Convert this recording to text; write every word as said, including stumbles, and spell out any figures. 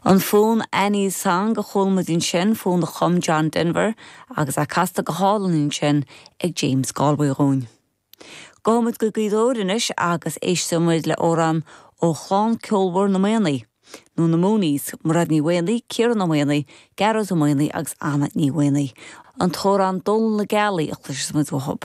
An fonn Annie's Song a chuala muid ansin fonn a chum John Denver agus é casta go hálainn ansin ag James Galway dhúinn. Gabhfaimid go Gaoth Dobhair anois agus éistfimid le amhrán ó chlann ceolmhar na Maonaigh. nó na Mooneys, Mairéad Ní Mhaonaigh, Ciarán Ó Maonaigh, Gearóid Ó Maonaigh agus Anna Ní Mhaonaigh. An t-amhrán Dónal na Gealaí a chloisfimid uathu.